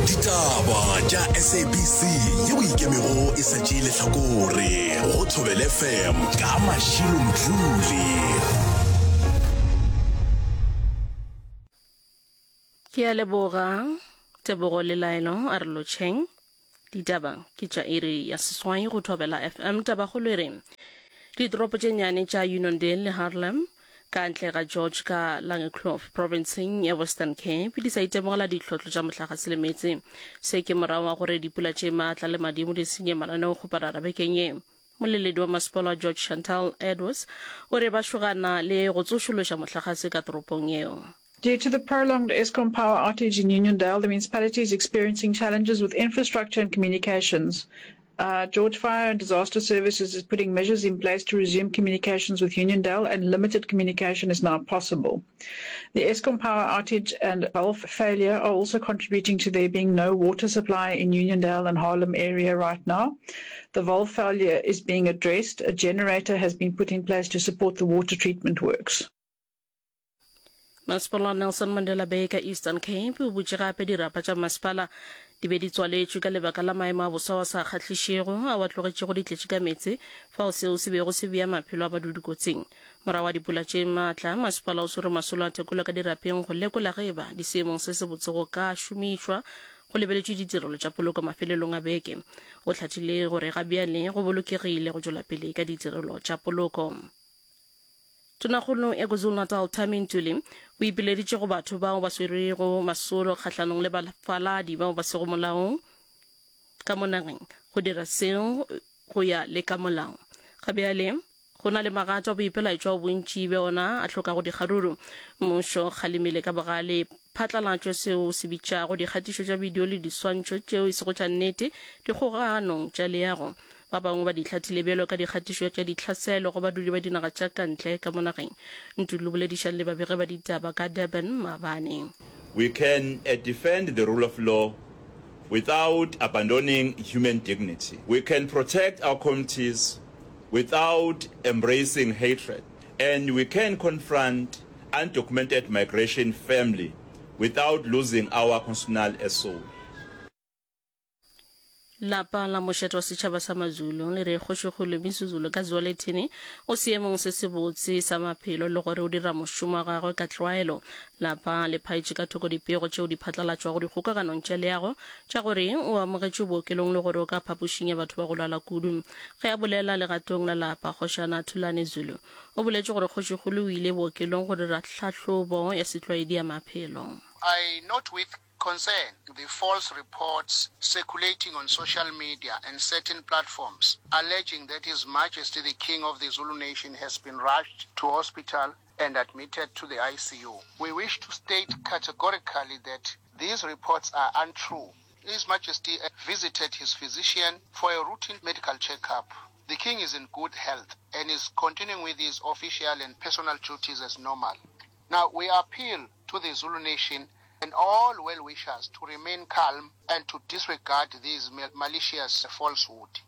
Ditaba tša SABC yeo ikemego e sa tšee lehlakore go Thobela FM ka Mashilo Mdluli. Ke a leboga Tebogo le Laelo a re lotšheng. Ditaba ke tša iri ya seswai go Thobela FM. Tabakgolo e re ditoropo tše nnyane tša Uniondale le Harlem ka ntle ga George ka Langekloof profenseng ya Western Cape di sa itemogela ditlhotlo tša mohlagase le meetse. Se ke morago ga gore dipula tše maatla le madimo di senye mananeo kgoparara bekeng ye. Moleledi wa masepala wa George Chantal Edwards o re ba šogana le go tsošološa mohlagase ka toropong yeo. Due to the prolonged Eskom power outage in Uniondale, the municipality is experiencing challenges with infrastructure and communications. Uh, George Fire and Disaster Services is putting measures in place to resume communications with Uniondale, and limited communication is now possible. The Eskom power outage and valve failure are also contributing to there being no water supply in Uniondale and Harlem area right now. The valve failure is being addressed. A generator has been put in place to support the water treatment works. Masepala wa Nelson Mandela Bay ka Eastern Cape o butše gape dirapa tša masepala di be di tswaletšwe ka lebaka la maemo a bosa wa sa kgahlišego ao a tlogetšego di tletše ka meetse fao seo se bego se bea maphelo a badudi kotsing. Morago ga dipula tše maatla, masepala o swere masolo a tekolo ka dirapeng go lekola ge eba di seemong se sebotse go ka šomišwa go lebeletšwe ditirelo tša poloko mafelelong a beke. O hlathile gore ga bjale go bolokegile go tšwela pele ka ditirelo tša poloko. Tonakgolo ya KwaZulu-Natal Thami Ntuli o ipileditše go batho bao ba swerego masolo kgahlanong le bafaladi bao ba sego molaong ka mo nageng go dira seo go ya le ka molao. Ga bjale go na le magato a boipelaetšo ao bontši bja ona a hlokago dikgaruru. Mmušo o kgalemile ka bogale phatlalatšo seo se bitšago dikgatišo tša bidio le diswantšho tšeo e sego tša nnete dikgoganong tša leago. Ba bangwe ba di hlathile bjalo ka dikgatišo tša ditlhaselo go badudi ba dinaga tša ka ntle ka mo nageng. Ntuli o boledišane le babegi ba ditaba ka Durban maabane. We can defend the rule of law without abandoning human dignity. We can protect our communities without embracing hatred. And we can confront undocumented migration firmly without losing our constitutional soul. Lapa la mošate wa setšhaba sa Mazulu le re Kgošikgolo Misuzulu ka Zwelithini o seemong se sebotse sa maphelo le gore o dira mošomo wa gagwe ka tlwaelo. Lapa le phaetše ka thoko dipego tšeo di phatlalatšwago dikgokaganong tša leago tša gore o amogetšwe bookelong le gore o ka phapošing ya batho ba go lwala kudu. Ge a bolela legatong la lapa, Kgošana Thulani Zulu o boletše gore Kgošikgolo o ile bookelong go dira tlhahlobo ya setlwaedi ya maphelo. I note with concern the false reports circulating on social media and certain platforms alleging that His Majesty the King of the Zulu Nation has been rushed to hospital and admitted to the ICU. We wish to state categorically that these reports are untrue. His Majesty visited his physician for a routine medical checkup. The King is in good health and is continuing with his official and personal duties as normal. Now, we appeal to the Zulu Nation and all well-wishers to remain calm and to disregard these malicious falsehood.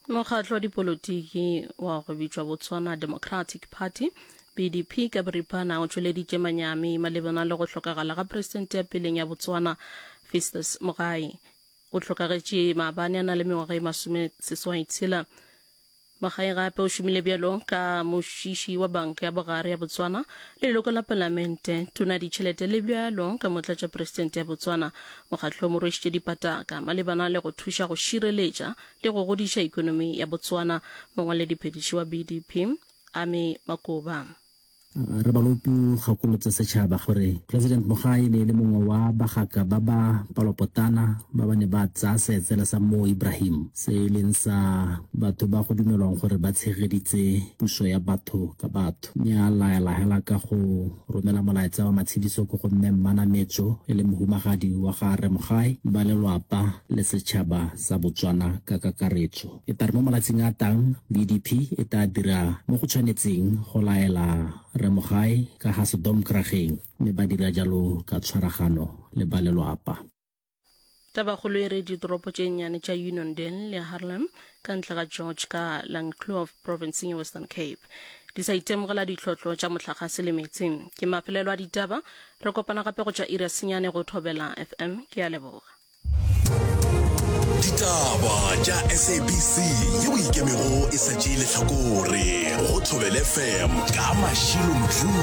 Mokgatlo wa dipolotiki wa go bitšwa Botswana Democratic Party, BDP, ka boripana o tšweleditše manyami malebana le go hlokagala ga presidente ya peleng ya Botswana Festus Mogae. O hlokagetše maabane a na le mengwaga e masomeseswaitshela. Mogae gape o šomile bjalo ka mošiši wa Banka ya Bogare ya Botswana, leloko la Palamente, tona ya ditšhelete le bjalo ka motlatšapresidente ya Botswana. Mokgatlo o mo rwešitše dipataka malebana le go thuša go šireletša le go godiša ekonomi ya Botswana. Mongwalediphethiši wa BDP, Amy Makoba. Rre Balopi o gakolotse setšhaba gore President Mogae e ne e le mongwe wa bagaka ba ba palopotana ba ba ne ba tsaya seetsele sa Mo Ibrahim se e leng sa batho ba go dumelwang gore ba tshegeditse puso ya batho ka batho mme a laela hela ka go romela molaetsa wa matshediso ko go Mme Mmanametso e le mohumagadi wa ga Rre Mogae, ba lelwapa le setšhaba sa Botswana ka kakaretso. E tla re mo malatsing a a tang, BDP e tla dira mo go tshwanetseng go laela Rre Mogae ka ga Sedomkrageng mme ba dira jalo ka tshwaragano le ba lelwapa. Tabakgolo e re ditoropo tše nnyane tša Uniondale le Haarlem ka ntle ga George ka Langkloof profenseng ya Western Cape. di sa itemogela ditlhotlo tša mohlagase le meetse. Ke mafelelo a ditaba, re kopana gape go tšwa iri ya senyane go Thobela FM. Ke a leboga. Ditaba tša SABC yeo ikemego e sa tšee lehlakore go Thobela FM ka Mashilo Mdluli.